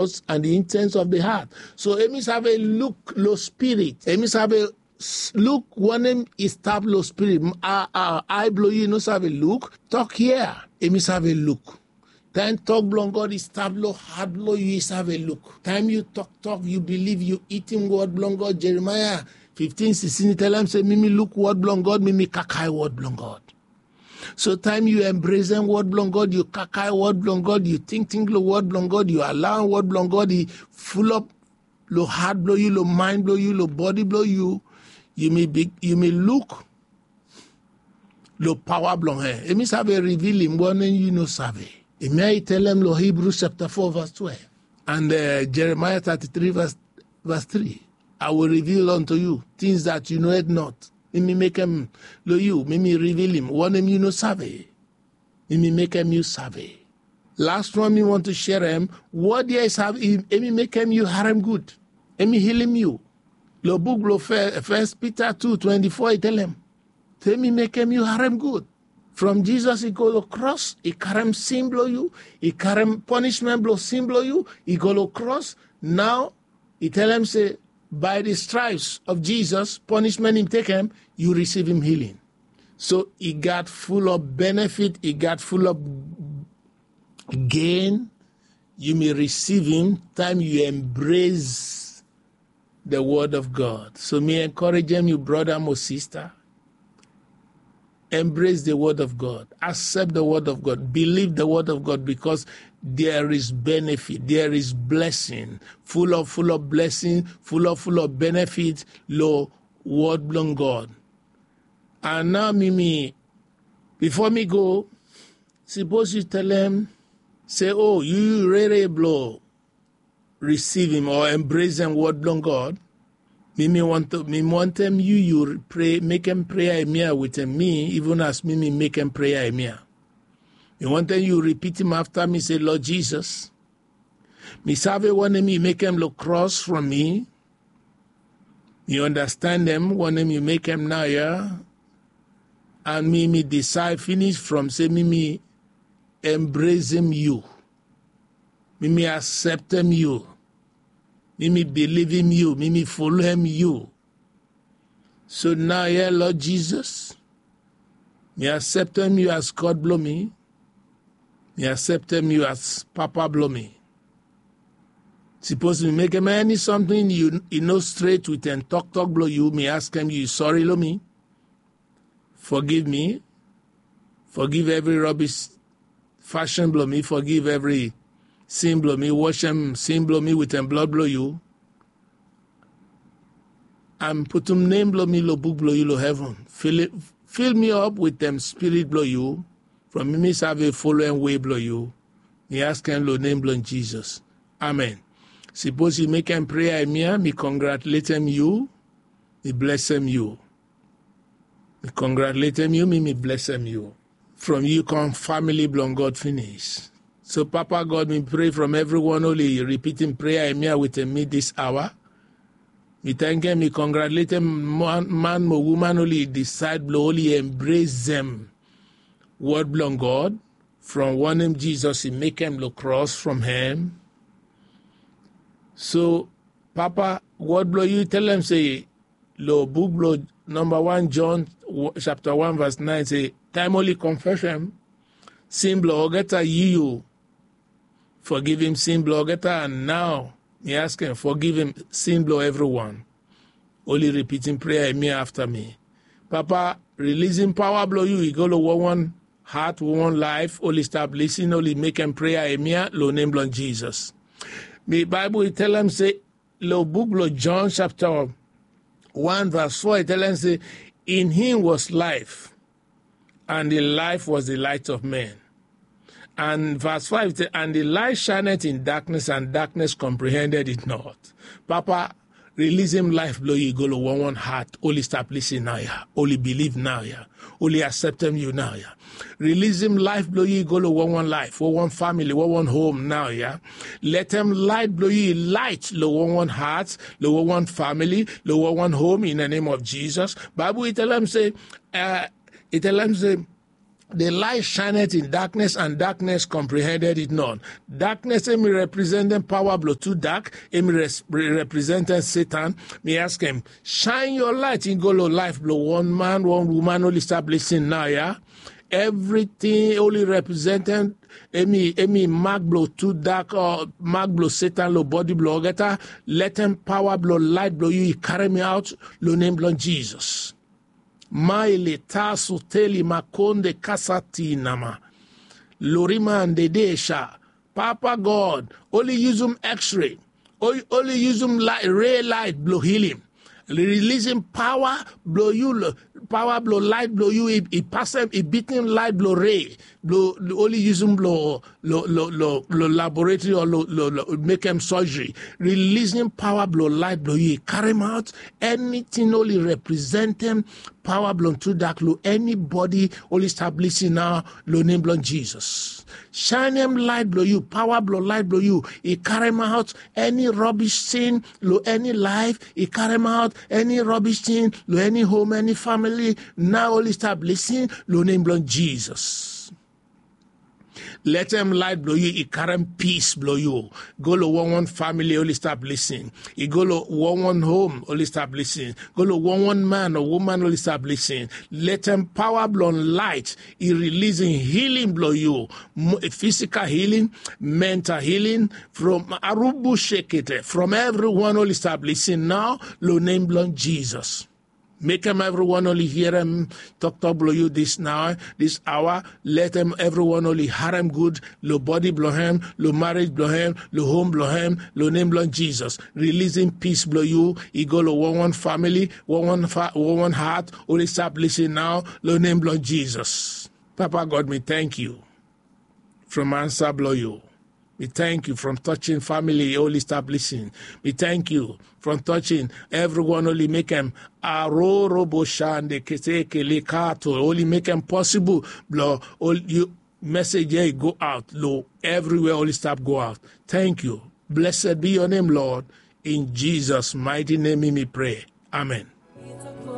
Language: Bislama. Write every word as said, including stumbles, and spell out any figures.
thoughts and the intents of the heart. So hemi save luk lo spirit. Hemi save luk wanem i stap lo spirit. Ae blo yu i no save luk. Tok ya, hemi save luk. Taem tok blong God i stap lo hat blo yu, i save luk. Taem yu toktok, yu bilif, yu itim wod blong God. Jeremaya fiftin sixteen i talem se mi mi luk wod blong God, mi mi kakae wod blong God. So taem yu embresem wod blong God, yu kakae wod blong God, yu tingting lo wod blong God, yu alaoem wod blong God i fulop lo hat blo yu, lo maen blo yu, lo bodi blo yu, yu mi luk lo paoa blong hem. Hemi save rivilim wanem yu no save. Hemia i talem lo Hebrews japta four vas twelve and Jeremaya tati tri vas tri. I will reveal unto you things that you knoweth not. Mi mi mekem lo yu, mi mi rivilim wanem yu no save. Mi mi mekem yu save. Las wan mi want to sherem. Wod ya i save, hemi mekem yu harem gud. Hemi hilim yu. Lo buk blo Fes Pita tu twenti fo i talem se hemi mekem yu harem gud. From Jisas i go lo kros, i karem sin blo yu, i karem ponismen blo sin blo yu, i go lo kros. Nao i talem se bae the stripes of Jisas, ponismen i tekem, yu risivim hiling. So i gat fulop benefit, i gat fulop gen yu mi risivim taem yu embres the wod of God. So mi enkorejem yu, broda mo sista, embres the wod of God, aksep the wod of God, bilif the wod of God, bikos there is benefit, there is blessing, fulop fulop blessing, fulop fulop benefit lo wod blong God. And nao mi mi, bifo mi go, sipos yu talem se o yu yu rere blo risivim o embresem wod blong God, mi mi wantem yu yu mekem prea hemia wetem mi, iven as mi mi mekem prea hemia. Mi wantem yu ripitim afta mi se, Lord Jisas, mi save wanem yu mekem lo kros from mi. Mi ondastandem wanem yu mekem naoia. And mi mi disaed finis from se mi mi embresem yu. Mi mi akseptem yu. Mi mi bilivim yu. Mi mi folem yu. So naoia, Lord Jisas, mi akseptem yu as God blo mi. Mi akseptem yu as Papa blo mi. Sipos mi mekem eni samting i no stret wetem toktok blo yu, mi askem yu sori lo mi. Fogiv mi. Fogiv evri robis fashin blo mi. Fogiv evri sin blo mi. Wasem sin blo mi wetem blod blo yu. And putum nem blo mi lo buk blo yu lo heven. Fil mi op wetem Spirit blo yu. From mi mi save folem wei blo yu. Mi askem lo nem blo Jisas. Amen. Sipos yu mekem prea hemia, mi kongratuletem yu. Mi blesem yu. Mi kongratuletem yu, mi mi blesem yu. From yu kam famili blong God finis. So Papa God, mi pre from evriwan oli ripitim prea hemia wetem mi dis aoa. Mi tankem, mi kongratuletem man mo uman oli disaed blo oli embresem wod blong God from wanem Jisas i mekem lo kros from hem. So Papa, wod blo yu i talem se lo buk blo namba wan John japta wan vas naen se taem oli konfesem sin blo olgeta, yu yu fogivim sin blo olgeta. And nao mi askem, fogivim sin blo evriwan. Oli ripitim prea hemia afta mi. Papa, rilisim paoa blo yu i go lo wanwan hat, wanwan laef. Oli stap lisin, oli mekem prea hemia lo nem blo Jisas. Mi Baebol i talem se lo buk blo John japta wan vas fo i talem se, in him was life, and the life was the light of men. And vas faef i talem, and the light shineth in darkness, and darkness comprehended it not. Papa, rilisim laef blo yu i go lo wanwan hat. Oli stap lisin naoia. Oli bilif naoia. Oli akseptem yu naoia. Rilisim laef blo yu i go lo wanwan laef, wanwan famili, wanwan hom naoia. Letem laet blo yu i laet lo wanwan hat, lo wanwan famili, lo wanwan hom in the name of Jisas. Baebol i talem se, i talem se The light shineth in darkness, and darkness comprehended it not. Darkness emi representem pawa blo tu dak, emi representem Satan. Mi askem, shine your light in go lo laef blo wan man, wan woman oli stap lisin nao ya. Evriting oli representem, emi mak blo tu dak, mak blo Satan lo bodi blo olgeta. Letem pawa blo laet blo yu i karem aot lo nem blo Jisas. Maile tasu teli makonde kasati nama. Loriman dedesha. Papa God, oli yusum X-ray, oli yusum ray laet blo hilim. Rilisim pawa blo yu, pawa blo laet blo yu i pasem, i bitim laet blo ray blo oli yusum blo lo laboratory o lo mekem surgery. Rilisim pawa blo laet blo yu i karem aot eniting oli representem pawa blo tu dak lo enibodi oli stap lisin nao lo nem blo Jisas. Shanem laet blo yu, pawa blo laet blo yu i karem aot eni robish tin lo eni laef, i karem aot eni robish tin lo eni hom, eni famili nao oli stap lisin lo nem blo Jisas. Letem laet blo yu i karem pis blo yu go lo wanwan famili oli stap lisin, i go lo wanwan hom oli stap lisin, go lo wanwan man o woman oli stap lisin. Letem pawa blo laet i rilisim hilim blo yu, fisikal hilim, mental hilim, from arubu shekete, from evriwan oli stap lisin nao lo nem blo Jisas. Mekem evriwan oli hia toktok blo yu dis nao, dis aoa. Letem evriwan oli harem gud lo bodi blo hem, lo marej blo hem, lo hom blo hem, lo nem blo Jisas. Rilisim pis blo yu i go lo wanwan famili, wanwan hat oli stap lisin nao lo nem blo Jisas. Papa God, mi tangkiu from ansa blo yu. Mi tangkiu from toching famili oli stap lisin. Mi tangkiu from toching evriwan oli mekem arorobo shande kesekele kato, oli mekem posibol blo yu mesej ya i go aot lo evriwea oli stap go aot. Tangkiu. Blesed bi yo nem, Lod. In Jisas maeti nem mi mi prea. Amen.